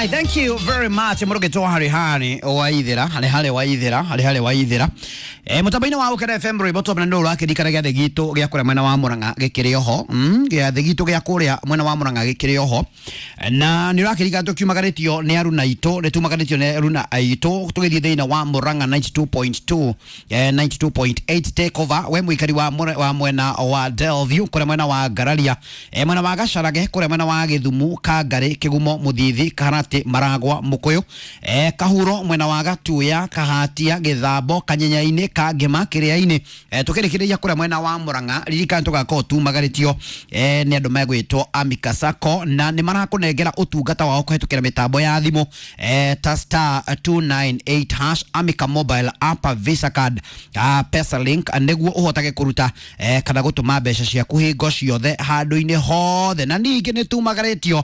Alright, thank you very much. Mũrũgĩtwo harĩ harĩ waithĩra, harĩ harĩ waithĩra, harĩ harĩ waithĩra. Mũtambo-inĩ wa Ũkena FM rwĩmbo twambere nĩ ũrakĩririkana gĩathĩ gitũ gĩa kũrĩa mwena wa Murang'a gĩkĩrĩ oho. Gĩathĩ gitũ gĩa kũrĩa mwena wa Murang'a gĩkĩrĩ oho. Na nĩ ũrakĩririkana tũkiumagarĩtio nĩ aruna aitũ, nĩ tumagarĩtio nĩ aruna aitũ tũgĩthiĩ thĩinĩ wa Murang'a 92.2, 92.8 take over. We mũikari wa wa mwena wa Delview kũrĩa mwena wa Ngararia, mwena wa Gacarage kũrĩa mwena wa Gĩthumu, Kangarĩ, Kĩgumo, Mũthithi, Karati, Maragwa, Mũkũyũ, Kahuro mwena wa Gatuya, Kahatia, Gĩthambo, Kanyenyainĩ, Kangema, Kĩrĩa-inĩ, tũkĩrĩkĩrĩria kũrĩa mwena wa Murang'a. Ririkana tũgakorwo tumagarĩtio nĩ andũ megwĩtwo Amika Sacco, na nĩ marakũnengera ũtungata wao kũhetũkĩra mĩtambo ya thimũ, ta star 298 hash, Amika mobile app, Visa card, Pesa link, nĩguo ũhotage kũruta kana gũtũma mbeca ciaku hingo ciothe handũ-inĩ hothe. Na ningĩ nĩ tumagarĩtio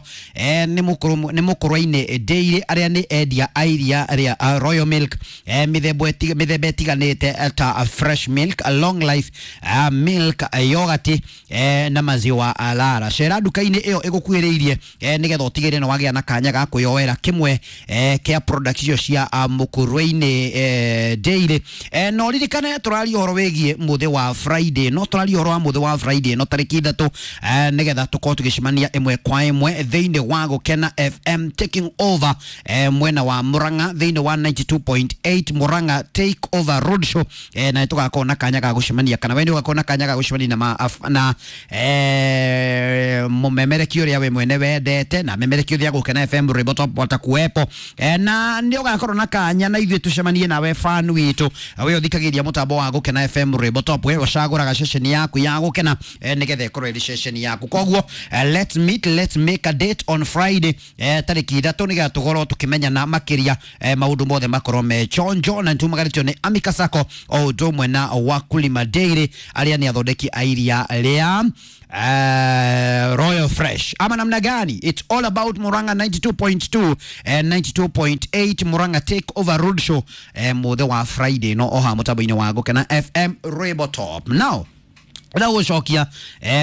nĩ mũkũrũ nĩ mũkũrũ-inĩ Dairy, arĩa nĩ endia a iria rĩa Royal Milk, mĩthemba ĩtiganĩte ta fresh milk, long life milk, yogurt, na maziwa lara. Cera nduka-inĩ ĩyo ĩgũkuhĩrĩirie, nĩgetha ũtigĩrĩre nĩ wagĩa na kanya ga kwĩyoera kĩmwe kĩa product icio cia mũkũrũ-inĩ Dairy. No ririkane tũraria ũhoro wĩgiĩ mũthĩ wa Friday, no tũraria ũhoro wa mũthĩ wa Friday no tarĩki 3, nĩgetha tũkorwo tũgĩcemania ĩmwe kwa ĩmwe thĩinĩ wa Gũkena FM taking over, mwena wa Murang'a thĩinĩ wa 92.8 Murang'a take over road show, na tũgakorwo na kanya ga gũcemania, kana we nĩ ũgakorwo na kanya ga gũcemania na, na mũmemereki ũrĩa we mwene wendete na memereki ũrĩa Gũkena FM rwĩmbo top watakuwepo, na nĩ ũgakorwo na kanya na ithuĩ tũcemanie nawe fan witũ, we ũthikagĩria mũtambo wa Gũkena FM rwĩmbo top, we ũcagũraga ceceni yaku ya Gũkena, nĩgetha ĩkorwo ĩrĩ ceceni yaku. Koguo let's meet, let's make a date on Friday, tarĩki 3, nĩgetha tũkorwo tũkĩmenyana makĩria, maũndũ mothe makorwo me chonjo. Na nĩtumagarĩtio nĩ Amika Sacco o ũndũ ũmwe na Wakulima Dairy, arĩa nĩ athondeki a iria rĩa Royal Fresh, ama namna gani? It's all about Murang'a 92.2 and 92.8 Murang'a take over road show, mũthĩ wa Friday no oha mũtambo-inĩ wa Gũkena FM Rwĩmbo Top. Now ndĩrenda gũcokia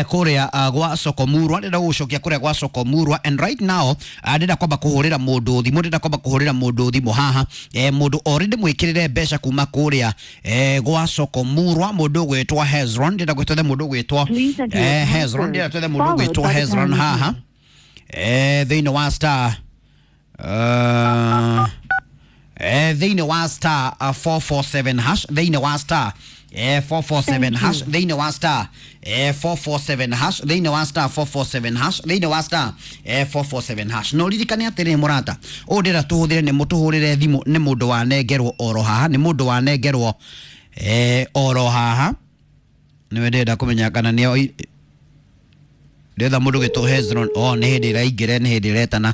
kũrĩa gwa Sokomurwa, ndĩrenda gũcokia kũrĩa gwa Sokomurwa, and right now ndĩrenda kwamba kũhũrĩra mũndũ thimũ, ndĩrenda kwamba kũhũrĩra mũndũ thimũ haha, mũndũ already mwĩkĩrĩre mbeca kuma kũrĩa gwa Sokomurwa, mũndũ ũgwĩtwo Hezron. Ndĩrenda gwĩtwo mũndũ ũgwĩtwo Please enter your Hezron, password, ndĩrenda twethe mũndũ followed ũgwĩtwo by the Hezron pound haha key. thĩinĩ wa star thĩinĩ wa star 447 hash, thĩinĩ wa star 447 Thank hash, you. thĩinĩ wa star 447 hash, thĩinĩ wa star 447 hash, thĩinĩ wa star 447 hash. No ririkane atĩrĩ mũrata ũũ ndĩra tũhũthĩre nĩ mũtũhũrĩre thimũ, nĩ mũndũ wanengerwo oro haha, nĩ mũndũ wanengerwo oro haha, nĩwe ndĩrenda kũmenya kana nĩ ndetha mũndũ gwĩtwo Hezron. Oh, nĩ hĩndĩ ĩraingĩra, nĩ hĩndĩ ĩretana.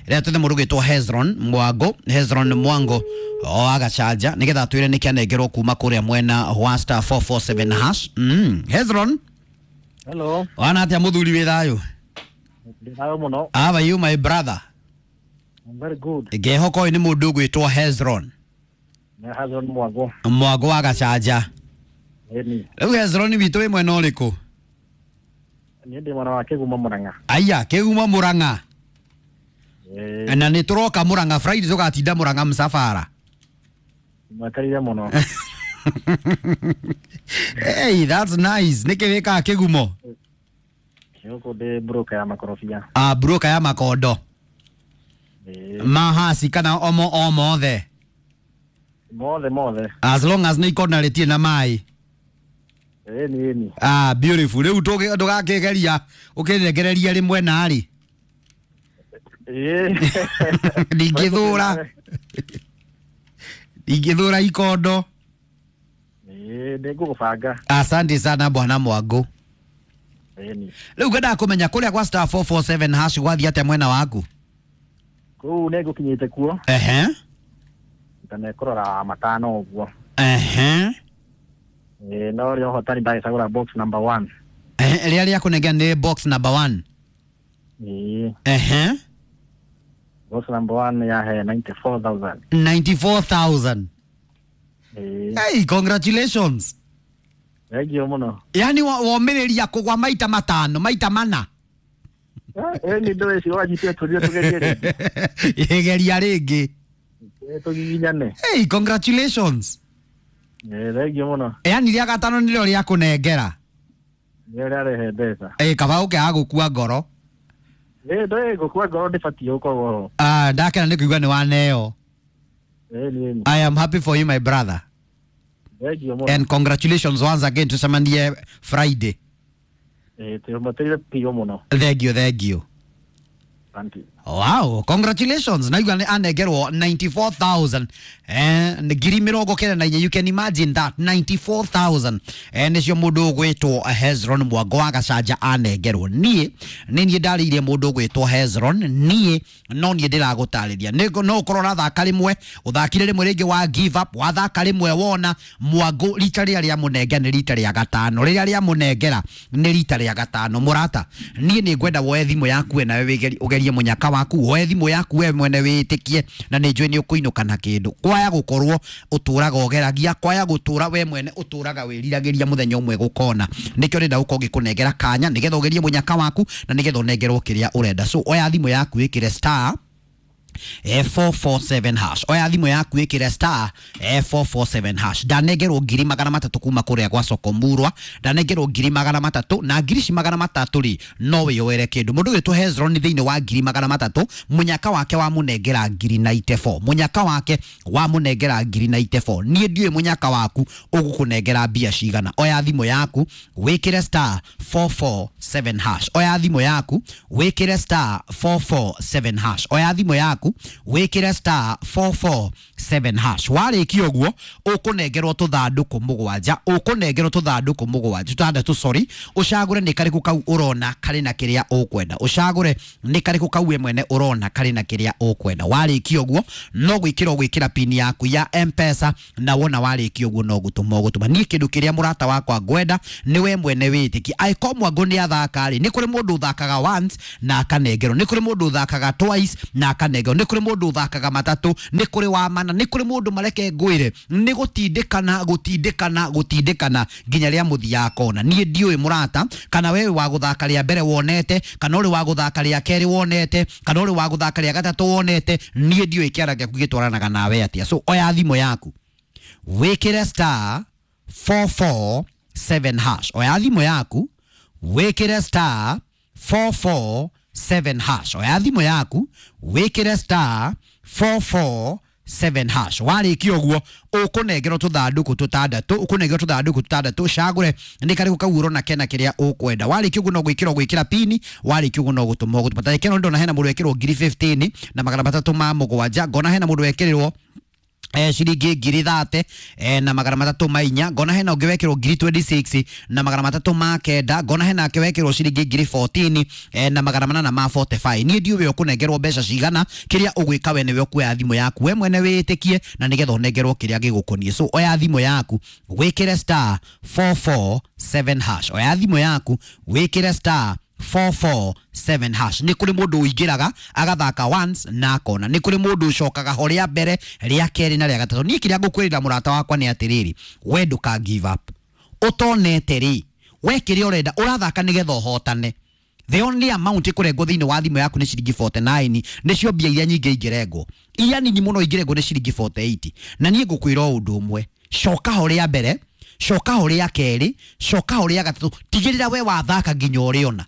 Rĩrĩa twethe mũndũ gwĩtwo Hezron Mwango, Hezron Mwango o agacanja, nĩgetha atwĩre nĩkĩ anengerwo kuma kũrĩa mwena wa star 447 hash. Hezron. Hello, wana atĩa mũthuri, wĩ thayũ? Ndĩ thayũ mũno. How are you, my brother? I'm very good. Ngehoka ũyũ nĩ mũndũ ũgwĩtwo Hezron. Nĩ Hezron Mwango. Mwango wa gacanja. Ĩni, Rĩu Hezron witũ, wĩ mwena ũrĩkũ? niĩ ndĩ mwana wa Kĩgumo Mũrang'a. Aya, Kĩgumo Mũrang'a. Ĩĩ, Na nĩ tũroka Mũrang'a Friday, tũgatinda Mũrang'a msafara. Mweterire mũno. Hey, that's nice. Nĩkĩ wĩkaga Kĩgumo? Gũkũ ndĩ broker ya makorobia. Ah, broker ya makondo. Ĩĩ, Mahasi kana omo o mothe? Mothe mothe. As long as nĩ ikona rĩtirĩ na maĩ. Ĩni ĩni. Ah, beautiful. Rĩu ndũgakĩgeria ũkĩnengereria rĩmwe narĩ. Ĩĩ. Ndingĩthũra. Ndingĩthũra ikondo. Ĩĩ, nĩngũgũbanga. Asante sana bwana Mwango. Ĩni. Rĩu ngwendaga kũmenya kũrĩa gwa star 447 hash gwathiĩ atĩa mwena waku? Kũu nĩngũkinyĩte kuo. Ehe. Ndanekũrora matano ũguo. Ehe. Ĩĩ, no rĩa ũhotani ndagĩcagũra box number 1. Ehe, rĩrĩa rĩakũnengera nĩ box number 1? Ĩĩ, Ehe. box number 1 yahe 94,000. 94,000. Ĩĩ, Hey, congratulations. Thank you mũno. Yani womĩrĩria kũgwa maita matano, maita mana. Ĩni ndũĩ cio wanyitire tũthiĩ tũgerie rĩngĩ. Geria rĩngĩ. Tũgiginyane. Hey, congratulations. Thengiũ mũno. Yani rĩa gatano nĩrĩo rĩa kũnengera. Nĩrĩo rĩarehe mbeca. Kaba ũkĩaga gũkua ngoro. Ndũĩ gũkua ngoro ndĩbatiĩ gũkorwo ho. Ah, ndakena nĩ kũigua nĩ waneo. Ĩni. I am happy for you, my brother. Thengiũ mũno. And congratulations once again, tucemanie Friday. Tũmateire piũ mũno. Thank you, thank you. Asante. Wow, congratulations. Naigua nĩ anengerwo 94,000. Ngiri mĩrongo kenda na inya. You can imagine that 94,000. Nĩcio mũndũ ũgwĩtwo Hezron Mwango wa Gacanja anengerwo. Niĩ nĩ niĩ ndarĩirie mũndũ ũgwĩtwo Hezron. Niĩ no niĩ ndĩragũtarĩria. Nĩ no ũkorwo ũrathaka rĩmwe, ũthakire rĩmwe rĩngĩ wa give up, wathaka rĩmwe wona Mwango rita rĩrĩa rĩamũnengera nĩ rita rĩa gatano. Rĩrĩa rĩamũnengera nĩ rita rĩa gatano. Mũrata, niĩ nĩ ngwenda woe thimũ yaku we nawe ũgerie mũnyaka waku, woe thimũ yaku we mwene wĩtĩkie na nĩ njũĩ nĩ ũkũinũka na kĩndũ. Kwaya gũkorwo ũtũraga ũgeragia, kwaya gũtũra we mwene ũtũraga wĩriragĩria mũthenya ũmwe gũkona. Nĩkĩo ndĩrenda gũkorwo ngĩkũnengera kanya nĩgetha ũgerie mũnyaka waku na nĩgetha ũnengerwo kĩrĩa ũrenda. So oya thimũ yaku ĩkĩre star 447 hash. Oya thimũ yaku ĩkĩre star 447 hash. Ndanengerwo ngiri magana matatũ kuma kũrĩa gwa Soko Murwa, ndanengerwo ngiri magana matatũ na ngiri ici magana matatũ rĩ no wĩyoere kĩndũ. Mũndũ ũgwĩtwo Hezron thĩinĩ wa ngiri magana matatũ, mũnyaka wake wamũnengera ngiri 94, mũnyaka wake wamũnengera ngiri 94. Niĩ ndiũĩ mũnyaka waku ũgũkũnengera mbia cigana. Oya thimũ yaku wĩkĩre star 447 hash. Oya thimũ yaku wĩkĩre star 447 hash. Oya thimũ yaku wĩkĩre star 447 hash. Warĩkia ũguo ũkũnengerwo tũthandũkũ mũgwanja, ũkũnengerwo tũthandũkũ mũgwanja tũtandatũ, sorry, ũcagũre nĩ karĩkũ kau ũrona karĩ na kĩrĩa ũkwenda, ũcagũre nĩ karĩkũ kau we mwene ũrona karĩ na kĩrĩa ũkwenda. Warĩkia ũguo no gwĩkĩra ũgwĩkĩra pin yaku ya M-Pesa, na wona warĩkia ũguo no gũtũma ũgũtũma. Niĩ kĩndũ kĩrĩa mũrata wakwa ngwenda nĩ we mwene wĩtĩkie. Angĩkorwo Mwango nĩ athaka rĩ, nĩ kũrĩ mũndũ ũthakaga once na akanengerwo, nĩ kũrĩ mũndũ ũthakaga twice na akanengerwo, nĩ kũrĩ mũndũ ũthakaga matatũ, nĩ kũrĩ wa mana, nĩ kũrĩ mũndũ mareke ngwĩre nĩ gũtindĩkana gũtindĩkana gũtindĩkana nginya rĩa mũthia akona. Niĩ ndiũĩ mũrata kana wewe wa gũthaka rĩa mbere wonete, kana ũrĩ wa gũthaka rĩa kerĩ wonete, kana ũrĩ wa gũthaka rĩa gatatũ wonete. Niĩ ndiũĩ kĩara gĩaku gĩtwaranaga nawe atĩa. So oya thimũ yaku wĩkĩre star 447 hash. Oya thimũ yaku wĩkĩre star 447 hash. Oya thimũ yaku wĩkĩre star 447 hash. Warĩkia ũguo ũkũnengerwo tũthandũkũ tũtandatũ, ũkũnengerwo tũthandũkũ tũtandatũ, ũcagũre nĩ karĩkũ kau ũrona kena kĩrĩa ũkwenda. Warĩkia ũguo no gwĩkĩra ũgwĩkĩra pini, warĩkia ũguo no gũtũma ũgũtũma. Ta reke ndona hena mũndũ wekĩrwo ngiri 15 na magana matatũ ma mũgwanja, ngona hena mũndũ wekĩrĩrwo ciringi ngiri thate na magana matatũ ma inya, ngona hena ũngĩ wekĩrwo ngiri 26 na magana matatũ ma kenda, ngona hena ake wekĩrwo ciringi ngiri 14 na magana manana ma 45. Niĩ ndiũĩ ũkũnengerwo mbeca cigana, kĩrĩa ũgwĩka we nĩwe ũkuoya thimũ yaku we mwene wĩtĩkie na nĩgetha ũnengerwo kĩrĩa gĩgũkoniĩ. So oya thimũ yaku wĩkĩre star 447 hash. Oya thimũ yaku wĩkĩre star 447 hash. Nĩ kũrĩ mũndũ ũingĩraga agathaka once na akona, nĩ kũrĩ mũndũ ũcokaga ho rĩa mbere rĩa kerĩ na rĩa gatatũ. Niĩ kĩrĩa ngũkwĩrĩra mũrata wakwa nĩ atĩrĩrĩ, we ndũka give up. Ũtonete rĩ, we kĩrĩa ũrenda ũrathaka nĩgetha ũhotane. The only amount ĩkũrengwo thĩinĩ wa thimũ yaku nĩ ciringi 49, nĩcio mbia iria nyingĩ ingĩrengwo. Iria nini mũno ingĩrengwo nĩ ciringi 48. Na niĩ ngũkwĩra o ũndũ ũmwe, coka ho rĩa mbere, coka ho rĩa kerĩ, coka ho rĩa gatatũ, tigĩrĩra we wathaka nginya ũrĩona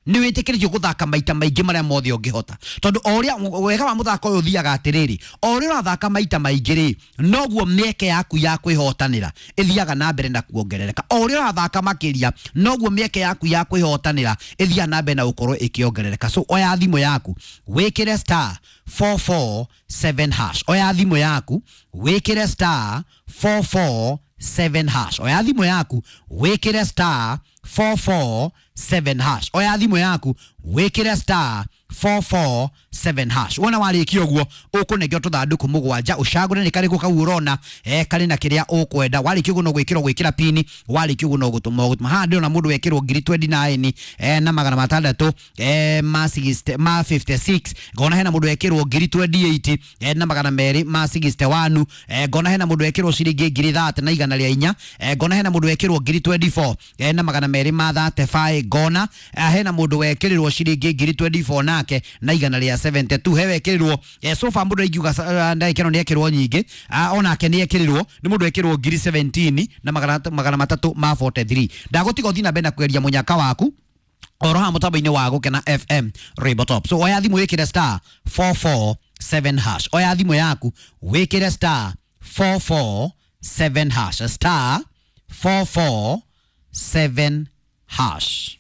nĩ wĩtĩkĩrĩtio gũthaka maita maingĩ marĩa mothe ũngĩhota, tondũ o ũrĩa wega wa mũthako ũyũ ũthiaga atĩrĩrĩ, o ũrĩa ũrathaka maita maingĩ rĩ, noguo mĩeke yaku ya kwĩhotanĩra ĩthiaga na mbere na kuongerereka. O ũrĩa ũrathaka makĩria, noguo mĩeke yaku ya kwĩhotanĩra ĩthiaga na mbere na gũkorwo ĩkĩongerereka. So oya thimũ yaku wĩkĩre star 447 hash. Oya thimũ yaku wĩkĩre star 447 hash. Oya thimũ yaku wĩkĩre star 447 hash. Oya thimũ yaku wĩkĩre star 447 7 hash. Wona warĩkia ũguo ũkũnengera tũthandũkũ mũgwanja, ũcagũre nĩ karĩkũ kau ũrona karĩ na kĩrĩa ũkwenda. Warĩkia ũguo no gwĩkĩrwo gwĩkĩra pini, warĩkia ũguo no gũtũma ũgũtũma. Haha ndĩrona mũndũ wekĩrwo ngiri 29 na magana matandatũ ma 60 ma 56. Ngona hena mũndũ wekĩrwo ngiri 28 na magana merĩ ma 61. Ngona hena mũndũ wekĩrwo ciringi ngiri 30 na igana rĩa inya. Ngona hena mũndũ wekĩrwo ngiri 24 na magana merĩ ma 35. Ngona hena mũndũ wekĩrĩrwo ciringi ngiri 24 nake na igana rĩa 72. He wekĩrĩrwo so far mũndũ ingiuga ndagĩka ĩno nĩ ekĩrwo nyingĩ. Onake nĩ ekĩrĩrwo, nĩ mũndũ wekĩrwo ngiri 17 na magana matatũ ma 43. Ndagũtiga ũthiĩ na mbere na kweria mũnyaka waku oro haha mũtambo-inĩ wa Gũkena FM Rainbow Top. So oya thimũ wĩkĩre star 447 hash. Oya thimũ yaku wĩkĩre star 447 hash, star 447 hash.